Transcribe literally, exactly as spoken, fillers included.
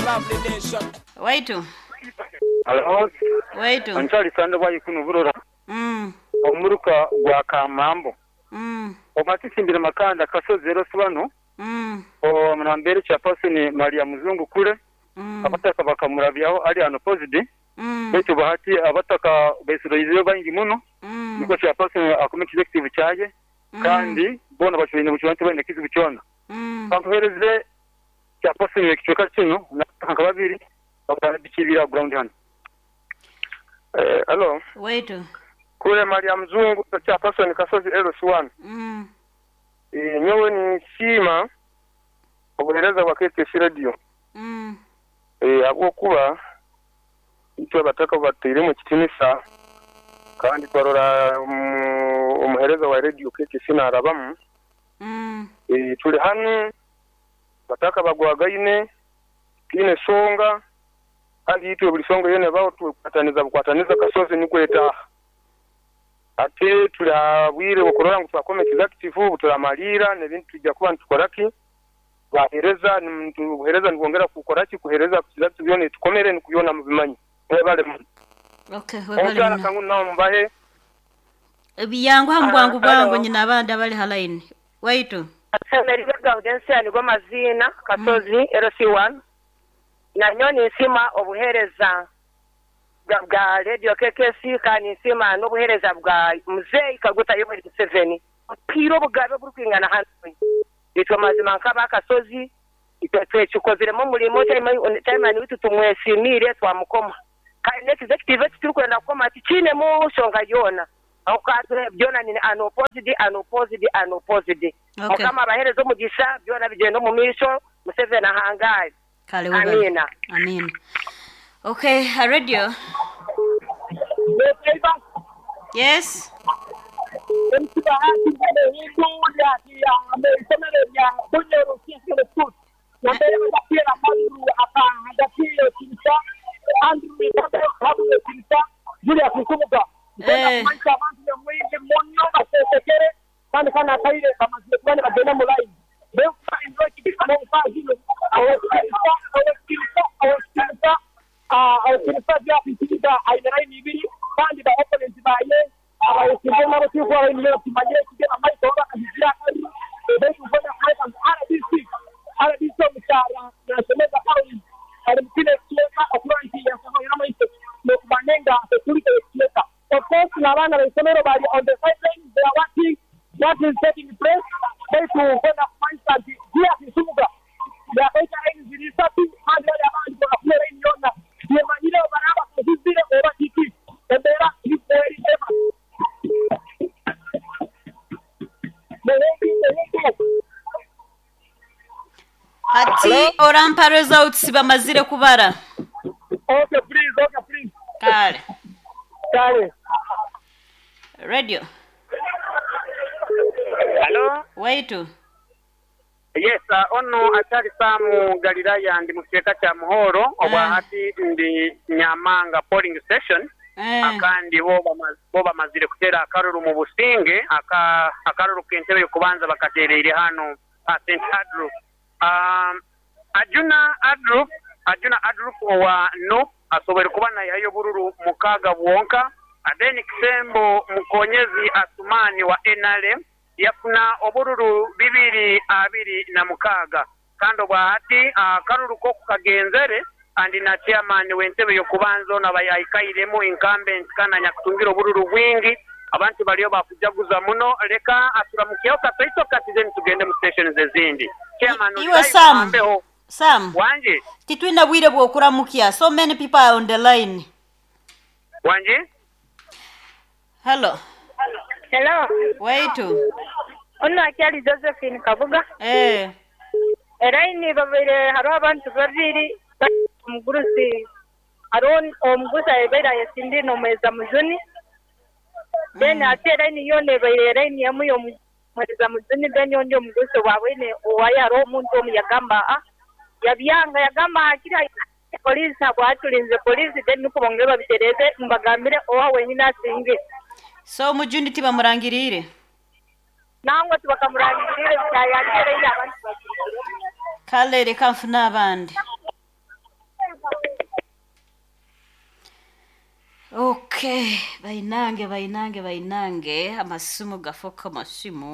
Lovely nation. Waitu. Hello. Waitu. Anchali sanda bwayi kuno burora. Mm. Omuruka gwa Kamambo. Mm. Omatisimbira makanda kasozi L C one. Mm. O munambere cha person Maria Muzungu kule. Mm. Abataka bakamurabyaho ali unopposed. Mm. Betu bahati abataka besuroizeyo bangi muno. Mm. Niko cha person akome executive chaje. Mm. Kandi bona bashobine buchwantu bane kizibu kyona. Mm. Kampereze cha person ekichweka kino na babiri bakabikibira ground hano. Eh, hello. Waitu. Kule Maria Mzungu cha person kasozi L C one. Mm. Eh, nyowe ni sima obuhereza bwa K K C radio. Mm. Eh, abo kuba icyo bataka batire mu kitinisa kandi twarora omuhereza wa radio K K C narabamu. Mm. Eh, tuli hano bataka bagwagaine kine songa kandi itwe buli songa yene bawo tukwataniza bukwataniza kasozi nikweta ate tulabwire okurora ngu twakome executive tulamalira nebintu tujja kuba ntukoraki bahereza ntuhereza nibongera kukoraki kuhereza executive byone tukomere nikuyona mubimanyi webale mu Okay, webale mu kangu nawo mbahe ebyangu hambwangu bwangu nyina abandi abali halaini waitu Asemeriwe Gaudensia nigwo mazina kasozi mm. L C one na nyoni nsima obuhereza bwa radio K K C kandi nsima n'obuhereza bwa Mzee Kaguta Yoweri Museveni piro bugabe burukwingana hano itwa mazima nkaba kasozi itwe twekikoziremo mulimo chairman witu tumwesimire twamukoma kandi next executive turi kukoma tikine mu shonga yona akatwe byona ni unopposed unopposed unopposed mukama abahereza omugisha byona bigenda mu misho Museveni ahangaye. Kale amina. Amina. Okay, a radio. Yes. Eh. Of course, Navana Isomero bari on the sidelines, they are watching what is taking place. They to gonna find that dia Kisuga. Ya kaita line zilisatu hadi wale abandi kwa kule line yona. Yemanyile baraba kuzizire oba kiki. Embera ikweri ema. Ati orampa results bamazire kubara. Okay, please, okay, please. Kale. Kale. Radio. Hello. Waitu. Yes, uh, ono atali Samu Galilaya ndi museka cha Muhoro obwa Eh. hati ndi Nyamanga polling station. Eh. Akandi bo bo bamazire kutera akaruru mu businge aka akaruru kentebe kubanza bakaterere hano ha Saint Andrew. Um, Ajuna Andrew Ajuna Andrew wa no asobere kubana yayo bururu mukaga bwonka Adeni Kisembo Mukonyezi Asumani wa N R M yafuna obururu bibiri abiri na mukaga kando bwahati akaruru ko kukagenzere andi na chairman w'entebe yokubanzo nabayayikairemu incumbent kana nyakutungira obururu bwingi abantu baliyo bakujaguza muno leka aturamukiyo katoito katize tugende mu stations ezindi chairman Iwe Sam Sam wanje titwina bwire bwokuramukia so many people are on the line wanje. Hello. Hello. Waitu. Ono akyali Josephine Kabuga. Eh. Eraini babire haro abantu babiri omugurusi haro omugusa ebeira yesindi nomweza mujuni. Then ate eraini yone ebeire eraini yamu yomweza mujuni then yondi omugusa wabwene owaya haro omuntu omu yagamba ah yabyanga yagamba akira polisi abwatulinze polisi then nuko bongera babitereze mbagambire owa wenyine asinge. So mujuni tibamurangirire nangwa tibakamurangirire cyayangere abantu Kale reka mfuna abandi. Okay, bainange bainange bainange, amasimu gafoka masimu.